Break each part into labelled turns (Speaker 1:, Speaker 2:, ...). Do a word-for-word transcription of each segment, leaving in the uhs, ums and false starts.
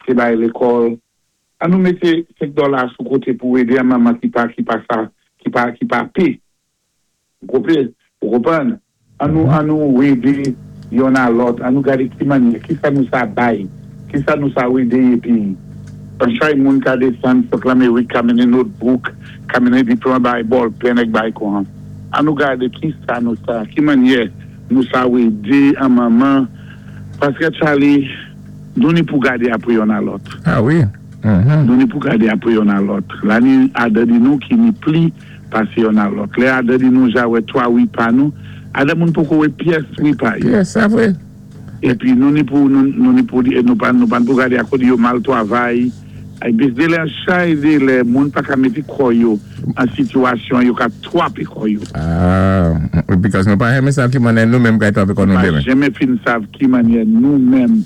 Speaker 1: Té bay lékòl, an nou mété senk dola sou koté pou édé an manman ki pa ki pa sa, ki pa ki pa pé. Ou konpwann? Ou konpwann? An nou an nou édé yonn a lòt, an nou gadé ki mannyè, ki sa nou sa bay, ki sa nou sa édé épi an chay moun ka désann sot Lamérik ka mennen notebook, ka mennen diplòm bay ball pen èk bay kon. An nou gadé ki sa nou sa, ki mannyè nou sa édé an manman paské Charlie, nou ni pou gadé apwé yonn a lòt.
Speaker 2: Ah wi. Mhm.
Speaker 1: Nou ni pou gadé apwé yonn a lòt. La ni adan di nou ki ni pli pasé yonn a lòt. Lè adan di nou ja wè twa wi pa nou, adan moun poko wè pyès wi pa yo.
Speaker 2: Pyès, sa vwé.
Speaker 1: Épi nou ni pou nou, nou ni pou nou pa nou pa pou gadé akò di yo mal twavay. Ay bis de lè chay de lè moun pa ka mété kò yo an sitiyasyon yo ka twapé kò yo.
Speaker 2: Ah, because nou pa renmen sav ki mannyè nou menm kay twapé kò nou
Speaker 1: Pa
Speaker 2: démen.
Speaker 1: jenmen fin sav ki mannyè nou menm,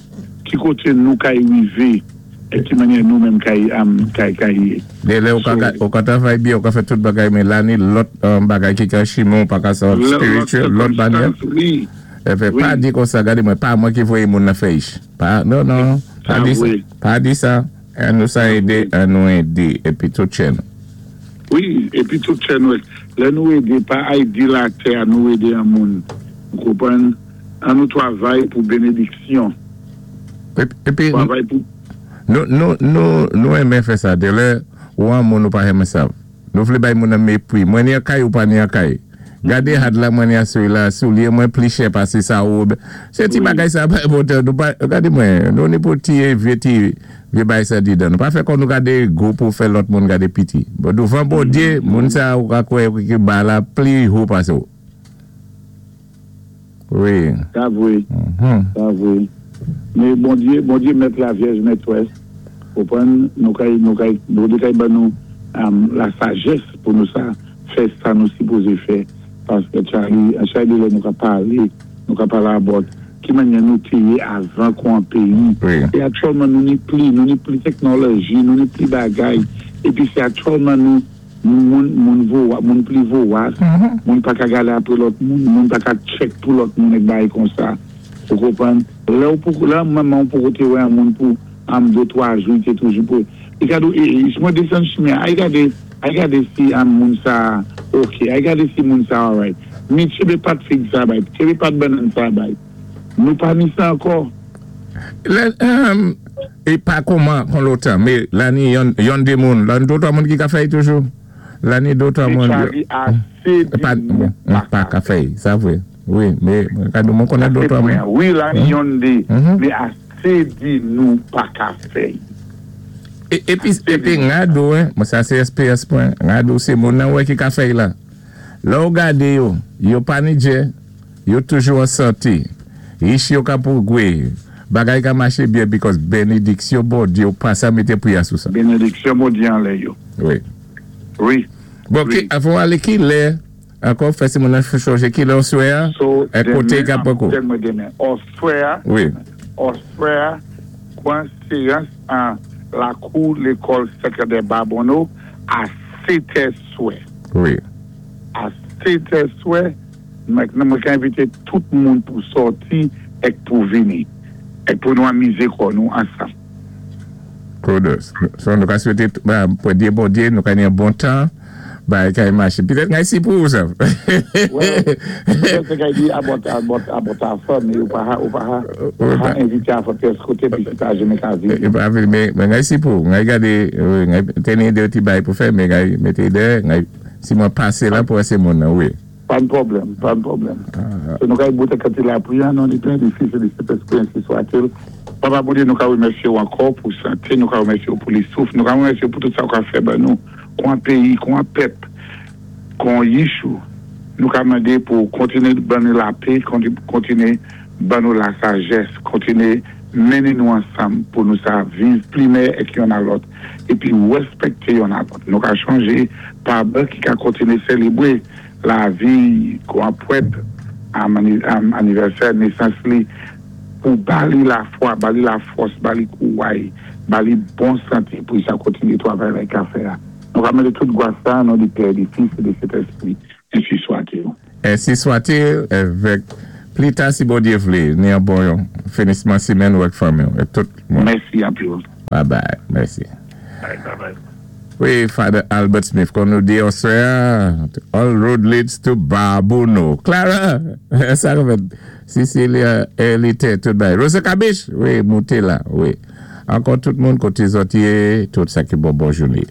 Speaker 1: ki koté nou kay wivé, é ki mannyè nou menm kay am kay kay yé.
Speaker 2: Dé lè ou ka,
Speaker 1: So-
Speaker 2: ou ka travay byen, ou ka fè tout bagay, men la ni lòt um, bagay ki ka chimon, pa ka sa spiritual, lòt mannyè.
Speaker 1: Wi.
Speaker 2: É fè,
Speaker 1: Wi.
Speaker 2: pa di kon sa, gadé mwen, pa mwen ki voyé moun nan fè ich. Pa, non, non, pa
Speaker 1: Sa
Speaker 2: di sa.
Speaker 1: vwé.
Speaker 2: Pa di sa. An nou sa édé, an nou édé, épi tout chè nou.
Speaker 1: Wi, épi tout chè nou, lè nou édé, pa ay di latè, an nou édé an moun. Ou konpwann? An nou twavay pou bénédiksyon.
Speaker 2: Épi, épi
Speaker 1: Twavay pou
Speaker 2: nou, nou, nou, nou renmen fè sa, dé lè, ou an moun nou pa renmen sa. Nou vlé bay moun nan mépwi. Mwen ni an kay ou pa ni an kay. Gadé had la mwen ni an sou la, soulye mwen pli chè pasé sa ou. Sé ti
Speaker 1: Wi.
Speaker 2: bagay sa pa enpòtan. Nou pa, gadé mwen, nou ni pou ti vyé ti, vyé bay sa di dan. Nou pa fè kon nou gadé gwo pou fè lòt moun gadé piti. Bon, douvan Bondyé, moun sa ou ka kwè ki ba la pli wo pasé ou. Wi.
Speaker 1: Sa vwé,
Speaker 2: Mhm.
Speaker 1: sa vwé. Mais Bondyé, Bondyé mèt la Vyèj mètwès. Konpwann, nou kay, nou kay, Bondyé kay ban nou um, la sajès pou nou sa fè sa nou sipozé fè. Paské Charlie, an chay de lè nou ka palé, nou ka palé about ki mannyè nou té yé avan kon an péyi.
Speaker 2: Wi.
Speaker 1: É aktyèlman nou ni pli, nou ni pli teknoloji, nou ni pli bagay. Épi sé aktyèlman nou moun moun vo, moun pli vowas, moun pa ka gadé apwé lòt moun, moun pa ka check pou lòt moun èk bagay kon sa. Ou konpwann? Lè ou pou lè manman ou pou koté wè an moun pou am de twa jou, té toujou pou. I ka dou, e, e, si mwen desann chimen, ay gadé, ay gadé si an moun sa ok, ay gadé si moun sa alright. Mi tchébé pat fig sa bay, tchébé pat banan sa bay. Nou pa ni sa ankò.
Speaker 2: Lè, um, é pa kouman kon lòtan, mé la ni yon, yon dé moun, la ni dotwa moun ki ka fè toujou. La ni dotwa
Speaker 1: Mé
Speaker 2: moun.
Speaker 1: Charlie asé di
Speaker 2: Pa,
Speaker 1: nou
Speaker 2: pa ka fè, sa vwé. Wi, mé kado moun konnen dotwa moun.
Speaker 1: Wi, la ni yon dé,
Speaker 2: Mhm.
Speaker 1: mé asé di nou pa ka fè.
Speaker 2: É, épi, épi ngado, hein, mwen sa sé S P S pwen, ngado sé moun nan wè ki ka fè la. Lè ou gadé yo, yo pa ni djè, yo toujou an santé. Rich yo ka pou gwe, bagay ka maché byen because bénédiksyon Bondyé yo pa sa mété priya sou sa.
Speaker 1: Bénédiksyon Bondyé anlè yo.
Speaker 2: Wi.
Speaker 1: Wi.
Speaker 2: Bon,
Speaker 1: Wi.
Speaker 2: ki, avan alé ki lè, ankò fè si moun nan chonjé ki lè oswè a,
Speaker 1: So,
Speaker 2: é koté ka poko.
Speaker 1: Demen, demen. Oswè a,
Speaker 2: Wi.
Speaker 1: oswè a, kwan séyans an lakou lékòl sékondè Babonneau a sèt è swè.
Speaker 2: Wi.
Speaker 1: A sèt è swè, mwen mwen ka envité tout moun pou sòti èk pou vini. Èk pou nou anmizé kò nou ansanm.
Speaker 2: Kudos. So nou ka swété, ba, pou dyé Bondyé, nou ka ni an bon tan, ba, kay maché. Pitèt ngay si pou ou sa.
Speaker 1: Well, petèt sé kay di about about about afè, mé ou pa ha, ou pa ha, ou pa ha envité afè pyès koté, pi si pa jenmen ka vini.
Speaker 2: E pa vini, mé, mé ngay si pou, ngay gadé, wi, ngay teni dé ti bay pou fè, mé ngay mété dé, ngay, si mwen pasé la pou ésé moun nan, wi.
Speaker 1: Pa de pwoblèm, pa de pwoblèm. So nou ka bout kati lapriyè, an non di Pè, di Fis é di Sentèspwi, ensi swat-il. Papa Bondyé, nou ka wimèsyé ou ankò pou santé, nou ka wimèsyé ou pou li souf, nou ka wimèsyé ou pou tout sa ou ka fè ban nou, kon péyi, kon pèp, kon yichou. Nou ka mandé pou kontiné ban nou lapè, kontiné ban nou la sajès, kontiné mennen nou ansanm pou nou sa viv pli mèyè èk yonn a lòt, épi wèspèkté yonn a lòt. Nou ka chonjé pa ki ka kontiné sélébwé lavi kon pwèt am, am anivèsè nésans li pou ba li lafwa, ba li lafòs, ba li kouway, ba li bon santé pou sa kontiné twavay la ka fè. Nou ka mandé tout gwa sa, an non di Pè, di Fis é di Sentèspwi, ensi swat-il.
Speaker 2: Ensi swat-il, évèk, pli ta si Bondyé vlé, ni an bon finisman simèn ou èk fanmi, èk tout moun.
Speaker 1: Mèsi anpil.
Speaker 2: Bye bye. Mèsi.
Speaker 1: Bye bye bye.
Speaker 2: Wi, Father Albert Smith, kon nou di oswè, all road leads to Babonneau. Clara, sa fèt Cecilia, Elite, tout bay. Rosa Kabish, wi, mouté la, wi. Ankò tout moun koté zòt yé, tout sa ki bon, bon jouné.